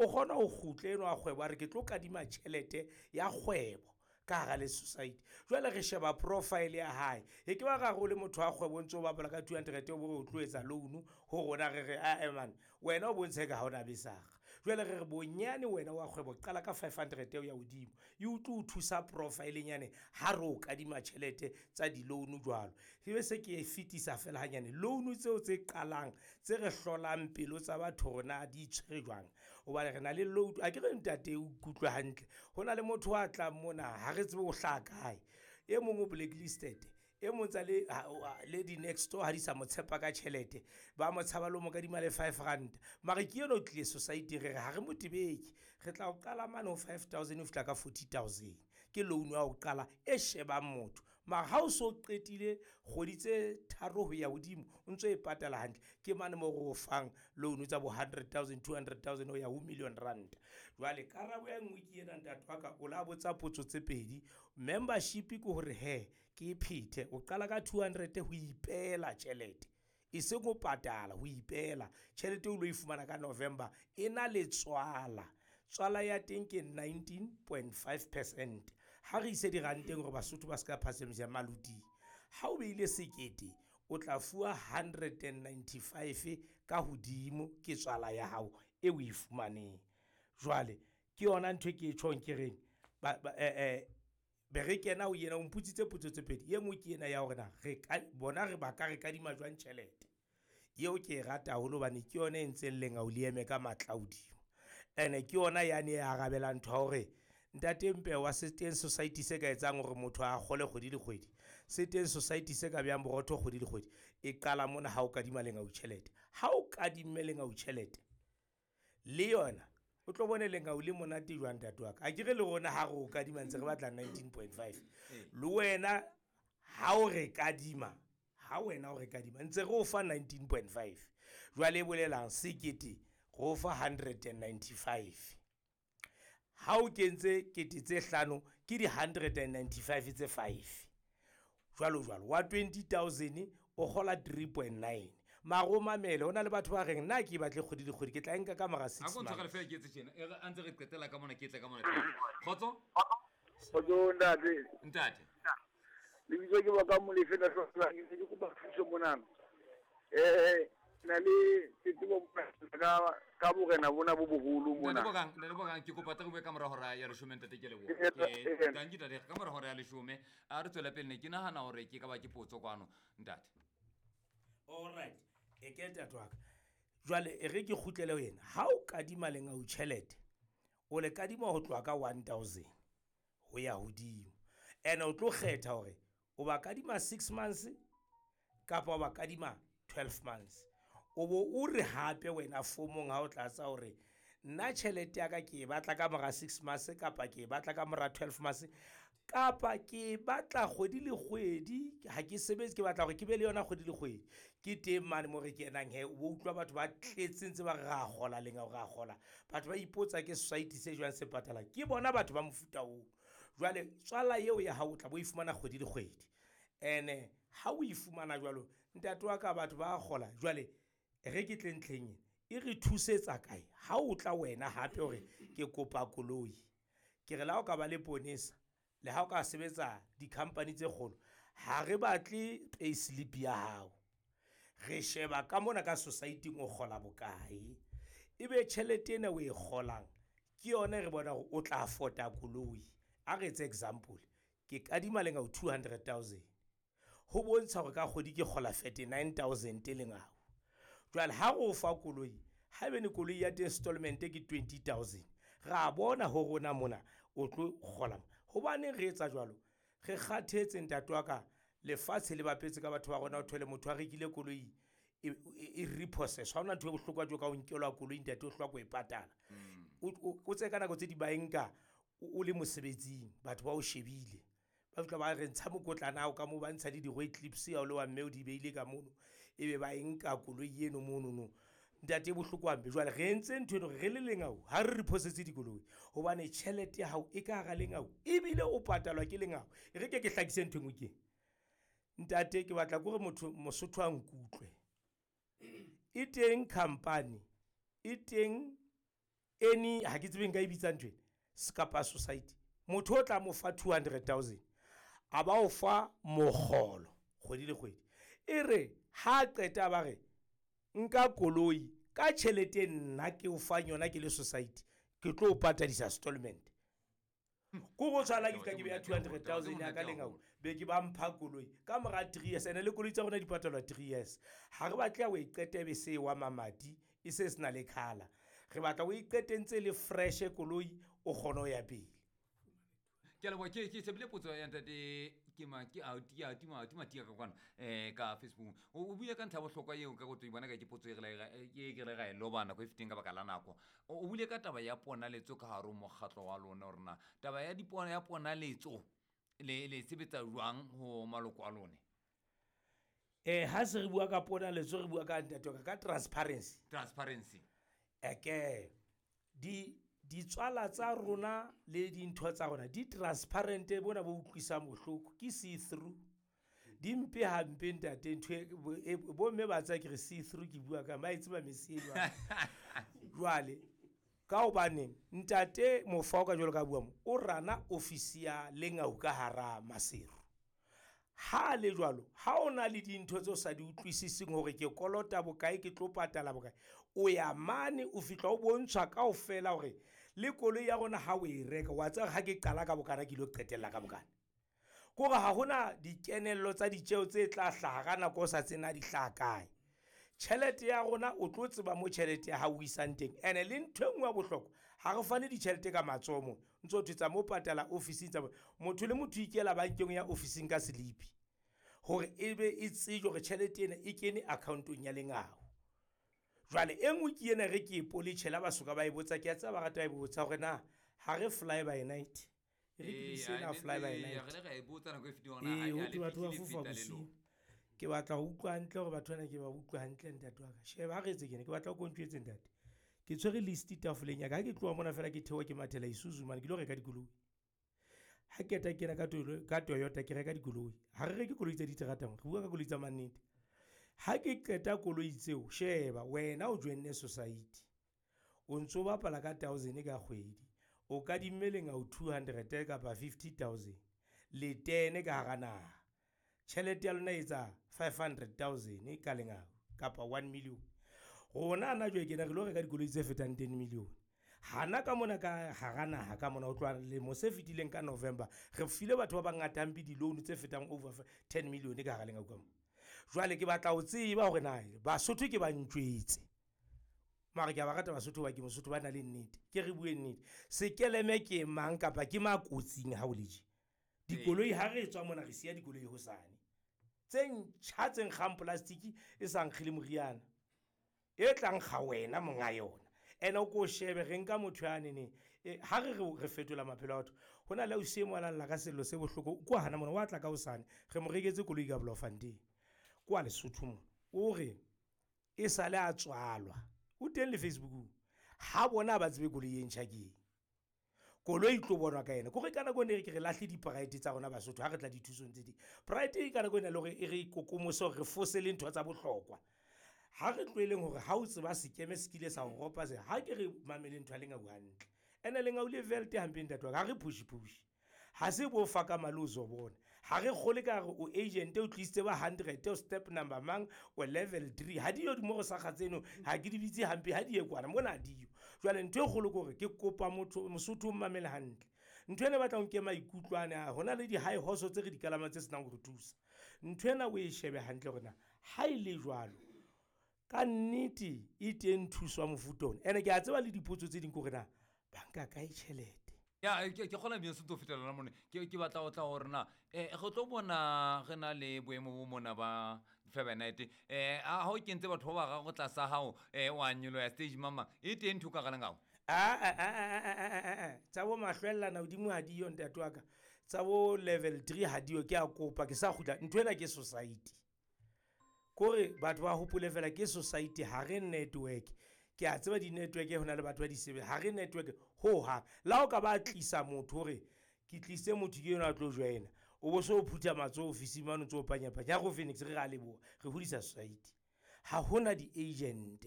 O kgona ho kgutla enwa wa kgwebo a re ke tlo kadima tjhelete ya kgwebo ka hara le society. Jwale re sheba profile ya hae, e ke ba ra re o le motho wa kgwebo o ntso o bapala ka 200 o bo re o tlo etsa loan ho rona, re re ae man wena o bontshe ka ha ona besakga. Jwale re re bonyane wena wa kgwebo qala ka 500 ho ya hodimo, e utlwe o thusa profile nyane ha re o kadima tjhelete tsa di-loan jwalo. Ebe se ke e fetisa fela hanyane loan tseo tse qalang tse re hlolang pelo tsa batho hore na di itshwere jwang, hobane re na le loan. A ke re ntate o ikutlwe hantle, ho na le motho a tlang mona ha re tsebe o hlaha kae, e mong o blacklisted, e mong tsa le, ha, o, a, le di-next door ha di sa mo tshepa ka tjhelete, ba mo tshaba le ho mo kadima le 5 rand. Mara ke eno tlile society re re ha re mo tebeke, re tla o qala mane ho 5 000 ho fihla ka 40 000. Ke loan ya ho qala e shebang motho. Mara ha o so qetile kgwedi tse 3 ho ya hodimo o ntso e patala hantle, ke mane mo re o fang loan tsa bo 100 000, 200 000 ho ya ho million rand. Jwale karabo ya nngwe ke ena ntate wa ka, o la botsa potso tse pedi. Membership ke hore he ke e phethe, o qala ka 200 ho ipeela tjhelete, e seng ho patala, ho ipeela tjhelete o lo e fumana ka November e na le tswala. Tswala ya teng ke 19.5%. Ha re ise diranteng hore Basotho ba ska phasemisa maluti. Ha o beile sekete o tla fuwa 195 ka hodimo ke tswala ya hao e o e fumaneng. Jwale ke yona ntho e ke e tjhong ke reng ba, ba, be re kena ho yena, o mpotsitse potso tse pedi. E nngwe ke ena ya hore na re ka bona re ba ka re kadima jwang tjhelete. Eo ke e rata haholo hobane ke yona e ntseng lengau le eme ka matla hodimo. Ene ke yona yane e arabelang ntho ya hore ntate Mpewa se teng society se ka etsang hore motho a kgole kgwedi le kgwedi, se teng society se ka behang borotho kgwedi le kgwedi. E qala mona ha o kadima lengau tjhelete. Ha o kadimme lengau tjhelete le yona o tlo bone lengau le monate jwang ntate wa ka. A ke re le rona ha re o kadima ntse re batla 19.5. Le wena ha o re kadima, ha wena o re kadima ntse re o fa 19.5. Jwale e bolelang sekete re o fa 195. Ha o kentse kete tse hlano ke di 195 tse 5. Jwalo jwalo wa 20 000 o kgola 3.9. Mara o mamele, ho na le batho ba reng nna ke batle kgwedi le kgwedi, ke tla e nka ka mora 6 A ko ntshwarele months. fela ke etse tjena. E re a ntse re qetela ka mona, ke tle ka mona teng. Kgotso? Kgotso ntate. Ntate. Lebitso ke Baka Molefe, la Hlohlwa, ke ne ke kopa thuso monana. Na le tletlebo ka borena bona bo boholo mona. Ntate Bokang, ntate Bokang, ke kopa tla re bue ka mora hora ya leshome, ntate, ke leboha. Ke Ke tanki ntate, ka mora hora ya leshome. A re tswele pele, ne ke nahana hore ke ka ba ke potso kwano, ntate. All right. E ke ntate wa ka. Jwale e re ke kgutlele ho yena. Ha o kadima lengau tjhelete, o le kadima ho tloha ka 1000 ho ya hodimo. Ene o tlo kgetha hore o ba kadima 6 months kapa o ba kadima 12 months. O bo o re hape wena fomong ha o tlatsa hore nna tjhelete ya ka ke e batla ka mora 6 months kapa ke e batla ka mora 12 months kapa ke e batla kgwedi le kgwedi, ha ke sebetse ke batla hore ke be le yona kgwedi le kgwedi. Ke teng mane mo re kenang he, o bo utlwa batho ba tletse ntse ba re ra kgola lengau, ra kgola. Batho ba ipotsa ke society se jwang se patalang. Ke bona batho ba mofuta oo. Jwale tswala eo ya hao o tla bo e fumana kgwedi le kgwedi. Ene ha o e fumana jwalo, ntate wa ka batho ba kgola. Jwale re ke tle ntlheng ena, e re thusetsa kae? Ha o tla wena hape hore ke kopa koloi, ke re le ha o ka ba le ponesa, le ha o ka sebetsa di-company tse kgolo, ha re batle pay slip ya hao. Re sheba ka mona ka society-ng o kgola bokae. Ebe tjhelete ena o e kgolang ke yona e re bona hore o tla afford-a koloi. A re etse example, ke kadima lengau 200 000. Ho bontsha hore ka kgwedi ke kgola 39 000 lengau. Jwale ha re o fa koloi, haebane koloi ya teng installment ke 20 000, ra bona ho rona mona o tlo kgola. Hobaneng re etsa jwalo? Re kgathetse ntate wa ka, lefatshe le bapetse ka batho ba rona, o thole motho a rekile koloi e repossess. Ha hona ntho e bohlokwa jwalo ka ho nkelwa koloi ntate, o hloka ho e patala. O tseye ka nako tse di ba e nka o le mosebetsing, batho ba o shebile. Ba fihla ba re ntsha mokotlana hao ka moo, ba ntsha le di-road clips ya o le wa mme o di beile ka mono, ebe ba e nka koloi eno monono. Ntate e bohloko hampe. Jwale re entse ntho eno re le lengau, ha re repossesse dikoloi hobane tjhelete ya hao e ka hara lengau ebile o patalwa ke lengau. E re ke ke hlakise ntho e nngwe ke. Ntate ke batla ke hore motho Mosotho a nkutlwe. E teng company, e teng Any ha ke tsebe nka e bitsa ntho ena kapa society. Motho o tla mo fa 200,000 a ba o fa mokgolo kgwedi le kgwedi. E re ha qeta ba re nka koloi ka tjhelete nna ke o fang yona ke le society, ke tlo o patadisa installment. Ko go tshwana ke fihla ke beya 200,000 ya ka lengau, be ke ba mpha koloi ka mora 3 years. Ene le koloi tsa rona di patalwa 3 years. Ha re batle o e qete be se wa mamati e se se na le color. Re batla o e qete ntse le fresh koloi, o kgone ho ya pele. Ke a leboha, ke shebile potso ya ntate ke ma ke a tia tima tima tia ka kwana ka Facebook. O buile ka ntlha bohlokwa eo ka go to bona ka ke potso e re la e ke re ga e loba nako e feteng ka baka la nako. O buile ka taba ya ponaletso ka hare ho mokgatlo wa lona, hore na taba ya dipona ya ponaletso le sebetsa jwang ho maloko a lone. Ha se re bua ka ponaletso, re bua ka ntate wa ka transparency. Transparency. Eke ditswala tsa rona le dintho tsa rona di transparent, bona bo utlwisang bohloko ke see through. Di mpe hampe ntate, ntho e bo mme ba tsaya ke re see through, ke bua ka ba e tseba mesi e jwang. Jwale ka hobane ntate Mofao ka jwalo ka bua mo, o rana office ya Lengau ka hara Maseru. Ha le jwalo, ha o na le dintho tse o sa di utlwisiseng hore ke kolota bokae, ke tlo patala bokae, o ya mane o fihla o bontshwa kaofela hore le koloi ya rona ha o e reka, wa tseba ha ke qala ka bokana ke ilo qetella ka bokana. Kore ha hona dikenello tsa ditjeo tse tla hlaha ka nako o sa tsena di hlaha kae. Tjhelete ya rona o tlo tseba mo tjhelete ya hao o isang teng. Ene le ntho e nngwe ya bohlokwa, ha re fane ditjhelete ka matsoho mo. Ntso thwe tsa mo patala ofising tsa motho le motho ikela bankeng ya ofising ka selipi hore e be e tsejwe hore tjhelete ena e kene account-ong ya Lengau. Jwale e nngwe ke ena re ke e poletjhela ba soka ba e botsa, ke a tseba ba rata ba e botsa hore na ha re fly by night. Re ke sena fly by night. Re re e botsa nako e fetileng hore na ho thwe batho ba fofa bosiu. Ke batla ho utlwa hantle hore batho bana ke ba utlwa hantle ntate wa ka. Sheba ha re etse kene, ke batla ho kontjwetse ntate. Ke tshwere list tafoleng ya ka. Ha ke tloha mona fela ke theoha ke mathela Isuzu mane, ke lo reka dikoloi. Ha ke qeta kena ka Toyota ke reka dikoloi. Ha re reke koloi tsa diterata mo, re bua ka koloi tsa mannete. Ha ke qeta koloi tseo, sheba wena o joinne society. O ntso bapala ka 1000 ka kgwedi. O kadimme Lengau 200 kapa 50,000. Le tene ka hara naha. Tjhelete ya lona e etsa 500,000 ka Lengau kapa 1 million. Rona hana jwale kena re lo reka dikoloi tse fetang 10 million. Hana ka mona ka hara naha ka mona ho tloha lemo se fetileng ka November, re file batho ba bangata hampe di-loan tse fetang over 10 million ka hara Lengau ka mona. Jwale ke batla ho tseba hore na Basotho ke ba ntjwetse. Mara ke a ba rata Basotho ba ke Mosotho ba na le nnete. Ke re bue nnete. Sekeleme ke mang kapa ke makotsing ha o le tje? Dikoloi ha re tswa mona re siya dikoloi hosane. Tse ntjha tse nkgang plastic e sa nkge le moriana. E tla nkga wena monga yona. Ene o ko shebe re nka motho ya nene. Ha re re fetola maphelo a batho. Ho na le ausi e mo a lla ka sello se bohloko. Kwa hana mona wa tla ka hosane. Re mo reketse koloi ka Bloemfontein. Kwa Lesotho mo. O re e sale a tswalwa. O teng le Facebookong. Ha bona ba tsebe koloi e ntjha ke eng. Koloi e tlo bonwa ka yena. Kore ka nako ene re ke re lahle di-pride tsa rona Basotho ha re tla dithusong tse ding. Pride e ka nako ena le hore e re kokomose hore re fose le ntho tsa bohlokwa. Ha re tlohelleng hore ha o tseba sekeme se kile sa ho ropa se, ha ke re mamele ntho ya Lengau hantle. Ene Lengau le velte hampe ntate wa ka, ha re push push. Ha se bo fa ka mali o zo bona. Ha re kgole ka re o agent o tlisitse ba 100, o step number mang, o level 3. Ha di yo di mo go sa ga tseno, ha ke di bitse hampe, ha di ye kwana, mona ha di yo. Jwale ntho e kgolo ke hore ke kopa motho, Mosotho o mmamele hantle. Ntho ena e batlang ke maikutlo ane a, hona le di-high horse tse re di kalamang tse senang ho re thusa. Ntho ena o e shebe hantle hore na ha e le jwalo, ka nnete e teng thuso ya mofuta ona. Ene ke a tseba le dipotso tse ding ke hore na ba nka kae tjhelete. Ya, ke kgona ebile se tlo fetela la mone. Ke batla ho tla hore na, re tlo bona re na le boemo bo mona ba Fly by Night. Ha o kentse batho ba bararo tlasa hao, wa nyoloha stage mama, e teng ntho ka hara Lengau? A. Tsa bo mahlwellana hodimo ha di yo ntate wa ka. Tsa bo level 3 ha di yo, ke a kopa, ke sa kgutla. Ntho ena ke society. Kore batho ba hopole fela ke society, ha re network. Ke a tseba di-network ho na le batho ba di sebetsa. Ha re network ho hang. Le ha o ka ba tlisa motho hore ke tlise motho ke enwa a tlo joina, o bo so o phutha matsoho ofising mane o ntso o panyapanya. Ha re o Phoenix re ra leboha, re hodisa society. Ha hona di-agent,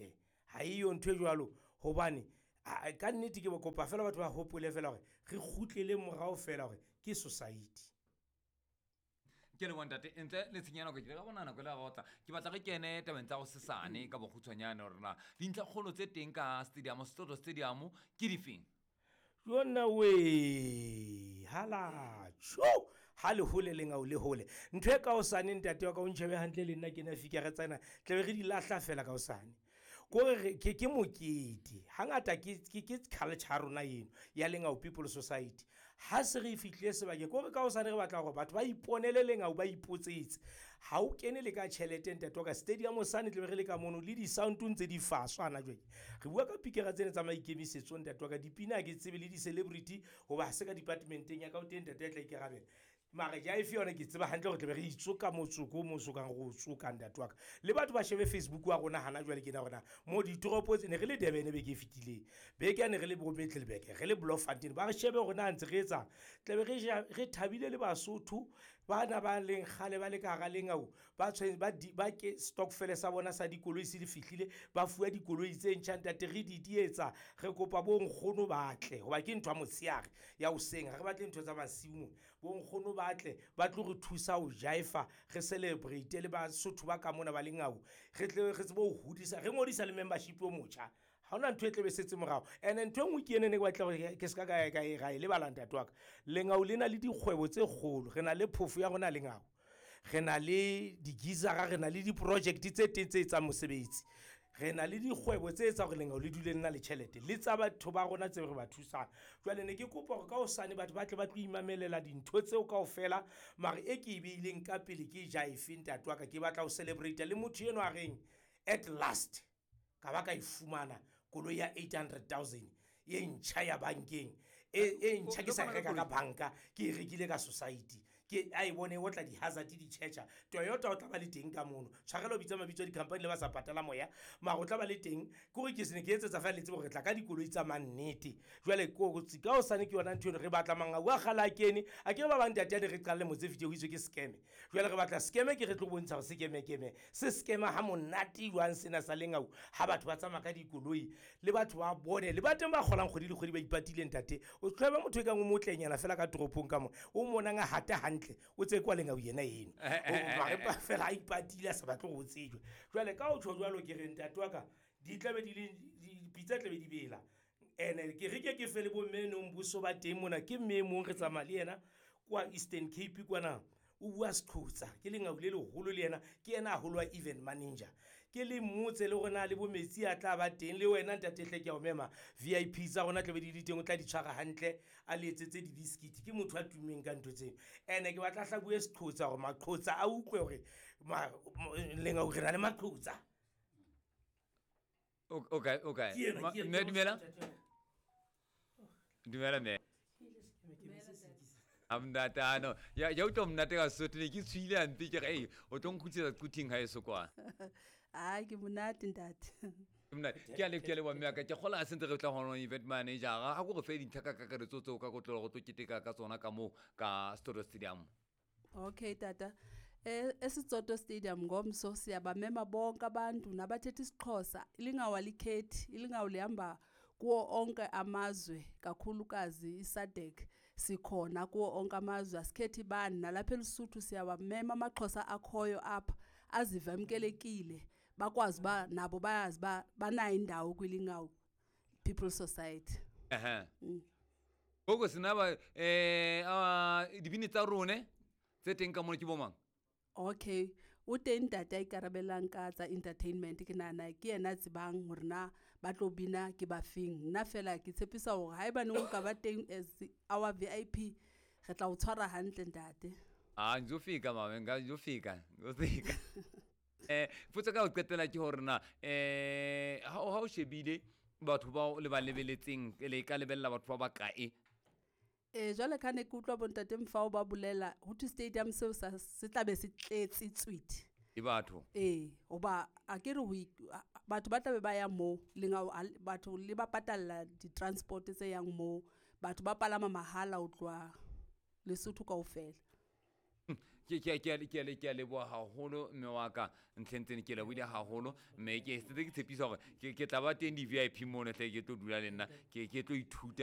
ha eyo ntho e jwalo hobane Ka nnete ke kopa fela batho ba hopole fela gore re kgutlele morao fela gore ke society. Ke leboa ntate, ntle le tshenyana ke ka bona nako e le ga otla ke batla re kene tabeng tsa go sesane ka bokgutshwanyane gore na dintlhakgolo tse teng ka stadium, Setsoto Stadium, ke difeng? Yona we hala tjho, ha le hole lengau le hole. Ntho e ka hosane ntate wa ka o ntjhebe hantle le nna ke na fika re tsena tlabe re di lahla fela ka hosane. Kore ke mokete. Hangata ke culture ya rona eno ya Lengau People Society. Ha se re fihlile sebakeng, kore ka hosane re batla hore batho ba iponele lengau, ba ipotsetse. Ha o kene le ka tjhelete ntate wa ka, stadium sane tlabe re le ka mono le di-sound ntse di faswa hana jwale. Re bua ka pikera tsena tsa maikemisetso ntate wa ka, dipina ha ke tsebe le di-celebrity hoba ha se ka department-eng ya ka, o teng ntate ya tla ikarabela. Mara jive yona ke tseba hantle hore tlabe re itsoka motsoko o mo sokang re o tsoka ntate wa ka. Le batho ba shebe Facebook wa rona hana jwale ke na rona mo ditoropo tse ne re le Durban beke e fetileng, beke ya ne re le bo Middelburg, re le Bloemfontein, ba re shebe hore na ntse re etsang. Tlabe re ja, re thabile le Basotho bana ba leng kgale ba le ka hara lengau, ba tshwere, ba di, ba ke stokvel sa bona sa dikoloi se di fihlile, ba fuwa dikoloi tse ntjha ntate, re di dietsa. Re kopa bo nkgono ba tle hoba ke ntho ya motshehare ya hoseng, ha re batle ntho tsa masiu mona. Bo nkgono ba tle ba tlo re thusa ho jaifa, re celebrate le Basotho ba ka mona ba lengau, re tle re tsebe ho hodisa, re ngodisa le membership o motjha. Ha hona ntho e tlabe setse morao. Ene ntho e nngwe ke ena ne ke batla hore ke ska ka ka e ra e lebala ntate wa ka. Lengau le na le dikgwebo tse kgolo, re na le phofo ya rona lengau, re na le di-geyser-a, re na le di-project tse teng tse etsang mosebetsi, re na le dikgwebo tse etsang hore lengau le dule le na le tjhelete le tsa batho ba rona tse re ba thusang. Jwale ne ke kopa hore ka hosane batho ba tle ba tlo imamelela dintho tseo kaofela, mare e ke e beileng ka pele ke jive ntate wa ka. Ke batla ho celebrate le motho enwa a reng at last ka ba ka e fumana koloi ya 800,000 e ntjha ya bankeng, e ntjha ke sa e reka ka banka, ke e rekile ka society. Ke a e bone o tla di-hazard di-charger. Toyota o tla ba le teng ka mono. Tshwarelo bitsa mabitso a di-company le ba sa patala moya, mara o tla ba le teng. Ke hore ke se ne ke etsetsa feela le tsebe hore re tla ka dikoloi tsa mannete. Jwale kotsi ka hosane ke yona ntho eno, re batla mangau a kgale a kene. A ke re ba bang ntate ane re qale motse fete ho itswe ke scam. Jwale re batla scam ke re tlo bontsha hore sekeme-keme se scam ha monate jwang sena sa lengau, ha batho ba tsamaya ka dikoloi le batho ba bone le ba teng ba kgolang kgwedi le kgwedi ba ipatile ntate. O tloha motho e kang o motlenyana fela ka toropong ka mona, o monang a hata hantle, o tse kwa lengau yena eno. O mare ba fela a ipatile a sa batle hore o tsejwe. Jwale ka ho tjho jwalo ke re ntate wa ka, di tlabe di le, di pitsa tlabe di bela. Ene ke re ke ke fe le bo mme nong boso ba teng mona, ke mme e mong re tsamaya le yena kwa Eastern Cape kwana, o bua Seqhotsa, ke lengau le leholo le yena, ke yena haholo wa event manager. Ke le mmotse le hore na le bo metsi a tla ba teng, le wena ntate hle ke a o mema, VIP tsa rona tlabe di le teng, o tla di tshwara hantle, a le etsetse di-biscuit. Ke motho a tummeng ka ntho tseo. Ene ke batla hla bue Seqhotsa hore Maqhotsa a utlwe hore lengau re na le Maqhotsa. Okay, okay. Ke ena, ke ena, Mme, ke dumela. motho. Dumela, mme. A monate, a no. Ya, ya utlwa monate ka Sesotho, ne ke tshohile hampe, ke re, ei, o tlo nkgutlisetsa quthing ha eso kwa. Ai, ke monate ntate. Ke monate. Ke a le, ke a leboha mme wa ka. Ke kgolwa ha se ntse re tla ho yona event manager. Ha ko re fe dintlha ka kakaretso tseo ka kotloloho re tlo keteka ka tsona ka moo ka Setsoto Stadium. Okay, tata. ESitsoto Stadium ngomso siyabamema bonke abantu nabathetha isiXhosa. Ilingawu alikhethi, ilingawu lihamba kuwo onke amazwe, kakhulukazi iSADC sikhona kuwo onke amazwe, asikhethi bani. Nalapha eLesotho siyabamema amaXhosa akhoyo apha azive amkelekile, bakwazi uba nabo bayazi uba banayo indawo kwiLingawu People Society. Ehe. Ngoku sinaba, dibini tsa rone tse teng ka mona ke bo mang? Okay, o teng ntate a ikarabelang ka tsa entertainment, ke nahana ke yena a tsebang hore na ba tlo bina ke ba feng. Nna fela ke tshepisa hore haebaneng o ka ba teng as our VIP, re tla o tshwara hantle ntate. Ah, ngizofika mama, ngizofika, ngizofika. Potso ka ho qetela ke hore na, ha o shebile batho bao le ba lebeletseng, le ka lebella batho ba bakae? Jwale ka ne ke utlwa bontate Mfao ba bolela, ho thwe stadium seo se tla be se tletse tswete. Ke batho. Hoba a ke re ho batho ba tla be ba ya moo, lengau a batho le ba patalla di-transport tse yang moo, batho ba palama mahala ho tloha Lesotho kaofela. Ke ke ke ke ke ke a leboha haholo mme wa ka ntlheng tsene, ke lebohile haholo, mme ke setse ke tshepisa hore ke tla ba teng di-VIP mono hle, ke tlo dula le nna, ke tlo ithuta.